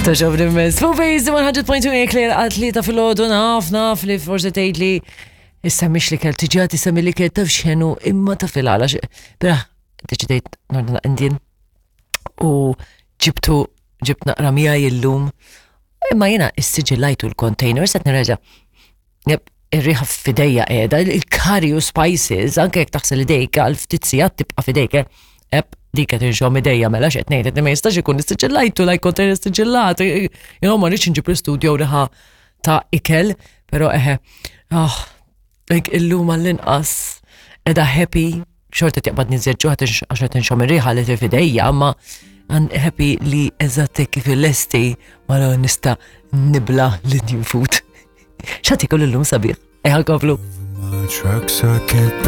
Toġobni immens. Fuq Base 100.2 Eclair għal ta' filgħodu naf naf li forsi tgħid li issa mhix li kell tiġa tisemmi li kell taf x'ħenu imma ta' fil-għala. Bra, deċidejt nordna Indian u ġibtu ġibt naqra miegħi illum. Imma jiena issiġillajtu l-container se nirreġa'. Ir-riħa f'idejja qiegħda, il-curry u spices, anke jekk taħsel idejk għal ftit sigħat tibqa' f'idejk. Eh? Eb, dik qed inxomm idejja mela x'qed ngħid qed ma jistax ikun issiġillajtu like container issiġillat. You know, ma rridx inġib l-istudio riħa ta' ikel, però eħe. Oh, like illum għall-inqas edha happy xorta tiqbad nizzeġġu għax qed inxomm ir-riħa li f'idejja, imma happy li eżatt kif il-lesti ma nista' nibla l-Indian food. X'għad ikun illum sabiħ? Eħa nkomplu.